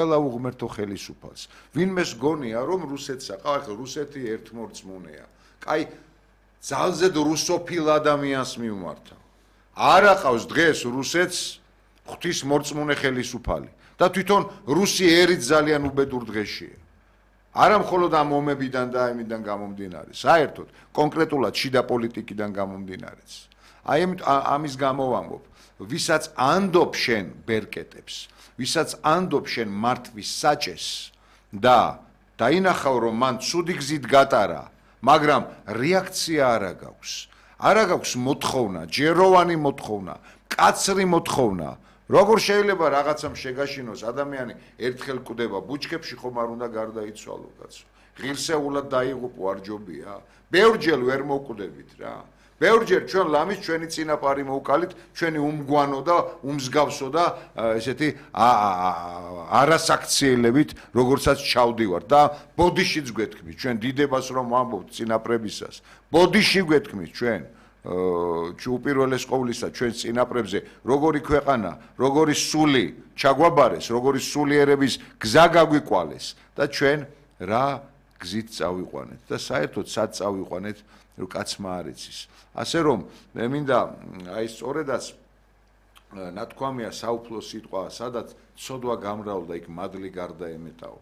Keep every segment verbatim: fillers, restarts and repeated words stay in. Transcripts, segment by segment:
ყველა უღმერთო ხელისუფალს. ვინმეს გონია რომ რუსეთსა, ახლა რუსეთი ერთმორწმუნეა. კაი ძალზედ რუსოფილ ადამიანს მიმართა. არ აყავს დღეს რუსეთს ღვთისმორწმუნე ხელისუფალი და თვითონ რუსი erით ძალიან უბედურ დღეშია. არა მხოლოდ ამ ომებიდან და ამიდან გამომდინარე, საერთოდ კონკრეტულად შიდა პოლიტიკიდან გამომდინარეც. აი ამის გამო ვამბობ, ვისაც ანდობ შენ ბერკეტებს, ვისაც ანდობ შენ მართვის საჭეს და დაინახავ რომ მან ცუდი გზით გატარა, მაგრამ რეაქცია არ აქვს. არ აქვს მოთხოვნა, ჯეროვანი მოთხოვნა, კაცრი მოთხოვნა. როგორ შეიძლება რაღაცამ შეგაშინოს ადამიანი ერთხელ კვდება ბუჩქებში ხომ არ უნდა გარდაიცვალო კაცო. ღირსეულად დაიღუპო არ ჯობია? ბევრჯერ ვერ მოვკვდებით რა. ბევრჯერ ჩვენ ლამის ჩვენი წინაპარი მოვკალით, ჩვენი უმგვანო და უმსგავსო და ესეთი არასაქციელებით, როგორცაც ჩავდივართ და ბოდიშიც გვეთქმით, ჩვენ დიდებას რომ ვამბობთ წინაპრებისას. ბოდიში გვეთქმით ჩვენ. უპირველეს ყოვლისა ჩვენ წინაპრებზე როგორი ქვეყანა, როგორი სული ჩაგვაბარეს, როგორი სულიერების გზა გაგვიკვალეს და ჩვენ რა გზით წავიყვანეთ და საერთოდ სად წავიყვანეთ, რომ კაცმა არ იცის. ასე რომ მე მინდა აი სწორედაც ნათქვამია საუფლო სიტყვა, სადაც ცოდვა გამრავლდა, იქ მადლი გარდაემეტაო.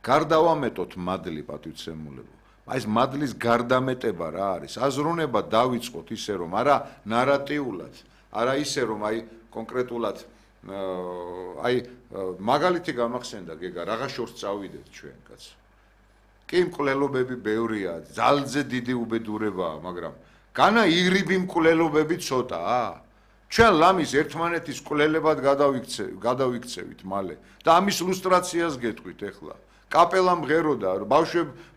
გარდავამეტოთ მადლი პატივცემულებო. აი ეს მადლის გარდამეტება რა არის? აზროვნება დავიწყოთ ისე რომ არა ნარატიულად, არა ისე რომ აი კონკრეტულად აი მაგალითი გამახსენდა გეგა, რაღა შორს წავიდეთ ჩვენ კაცო. კი მკვლელობები ბევრია, ძალზე დიდი უბედურებაა, მაგრამ განა ირიბი მკვლელობები ცოტაა. ჩვენ ლამის ერთმანეთის მკვლელებად გადავიქცევით მალე და ამის ილუსტრაციას გეტყვით ახლა. კაპელა მღეროდა,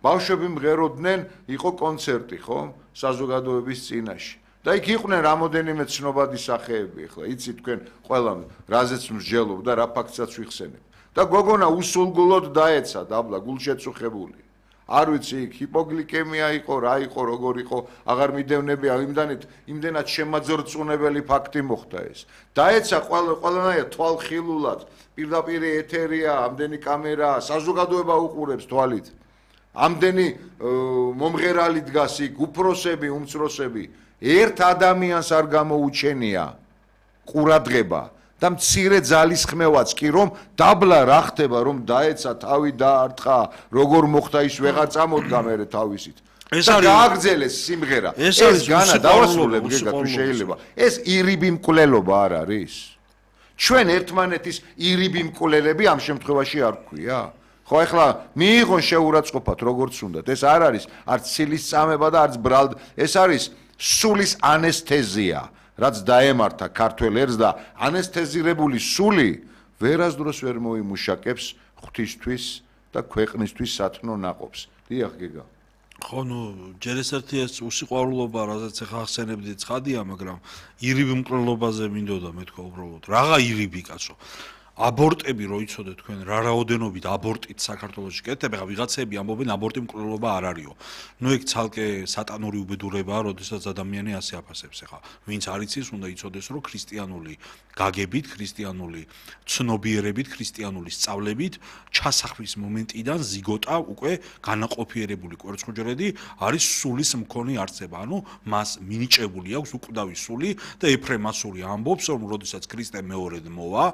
ბავშვები მღეროდნენ, იყო კონცერტი, ხო? საზოგადოების წინაშე. და იქ იყვნენ რამოდენიმე ცნობადი სახეები, ახლა იცით თქვენ ყველამ რაზეც მსჯელობ და რა ფაქტსაც ვიხსენებ. და გოგონა უსულგულოდ დაეცა დაბლა გულშეწუხებული. არ ვიცი, იქ ჰიპოგლიკემია იყო, რა იყო, როგორ იყო, აღარ მიდევნებია, იმდანით, იმდენად შემაძრწუნებელი ფაქტი მოხდა ეს. დაეცა ყველანაირად თვალხილულად, პირდაპირ ეთერია, ამდენი კამერა, საზოგადოება უყურებს თვალით. ამდენი მომღერალი დგას იქ, უფროსები, უმცროსები, ერთ ადამიანს არ გამოუჩენია ყურადღება. და მცირე ძალისხმევაც კი რომ დაბლა რა ხდება რომ დაეცა თავი დაარტყა როგორ მოხდა ის ვეღარ წამოდგა მერე თავისით ეს არის გააგრძელეს სიმღერა ეს განა დავასრულებ გეგა თუ შეიძლება ეს ირიბი მკვლელობა არ არის ჩვენ ერთმანეთის ირიბი მკვლელები ამ შემთხვევაში არ გვქვია ხო ეხლა მიიღონ შეურაცხყოფათ როგორც უნდათ ეს არ არის არც ცილის წამება და არც ბრალდ ეს არის სულის ანესთეზია რაც დაემართა ქართველ ერს და ანესთეზირებული სული ვერასდროს ვერ მოიმუშაკებს ღვთისთვის და ქვეყნისთვის სათნო ნაყოფს. დიახ გეგა. ხო, ნუ ჯერ ეს ერთი ეს უსიყვარულობა, რაზეც ახლა ახსენებდი ცხადია, მაგრამ ირიბი მკვლელობაზე მინდოდა მეთქვა უბრალოდ. რაღა ირიბი კაცო? აბორტები რო იცოდეთ თქვენ რა რაოდენობით აბორტით საქართველოში კეთდება, ხა ვიღაცები ამბობენ აბორტი მკვლელობა არ არისო. ნუ ეგ ცალკე სატანური უბედურებაა, როდესაც ადამიანი ასე აფასებს. ხა ვინც არ იცის, უნდა იცოდეს, რომ ქრისტიანული გაგებით, ქრისტიანული ცნობიერებით, ქრისტიანული სწავლებით ჩასახვის მომენტიდან ზიგოტა უკვე განაყოფიერებული კვერცხუჯრედი არის სულის მქონე არცება. ანუ მას მინიჭებული აქვს უკვდავი სული და ეფრემ ასური ამბობს, რომ როდესაც ქრისტე მეორედ მოვა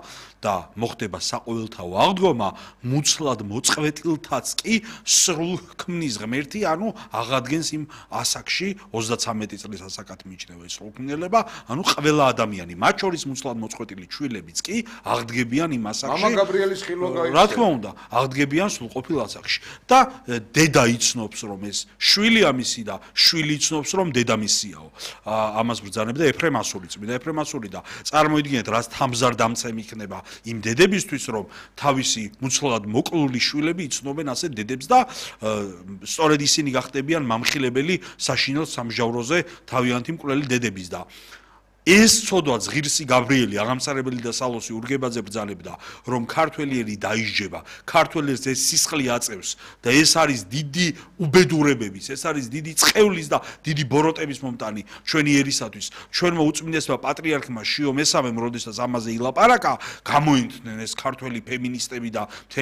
და მოხდება საყოველთაო აღდგომა, მუცლად მოწყვეტილთაც კი სრულ ქმნის ღმერთი, ანუ აღადგენს იმ ასაკში ოცდაცამეტი წლის ასაკად მიიჩნევა ეს სრულქმნელება, ანუ ყველა ადამიანი, მათ შორის მუცლად მოწყვეტილი შვილებიც კი აღდგებიან იმ ასაკში. მამა გაბრიელის ხილვა გაიქცა. რა თქმა უნდა, აღდგებიან სრულყოფილ ასაკში. და დედა იცნობს, რომ ეს შვილი ამისი და შვილი იცნობს, რომ დედა მისიაო. ამას ბრძანებდა ეფრემ ასური, წმინდა ეფრემ ასური და წარმოიდგინეთ, რაც თამზარდამცემ იქნება იმ დედებისთვის რომ თავისი მუცლად მოკლული შვილები იცნობენ ასე დედებს და სწორედ ისინი გახდებიან მამხილებელი საშინელ სამჟავროზე თავიანთი მკვლელი დედების და ეს ცოდვაც ღირსი გაბრიელი აღამსარებელი და სალოსი ურგებაძე ბრძანებდა რომ ქართველი ერი დაისჯება ქართველებს ეს სისხლი აწევს და ეს არის დიდი უბედურებების ეს არის დიდი წყევლის და დიდი ბოროტების მომტანი ჩვენი ერისათვის ჩვენმა უწმინდესმა პატრიარქმა შიო მესამემ როდესაც ამაზე ილაპარაკა გამოინთნენ ეს ქართველი ფემინისტები და მთელი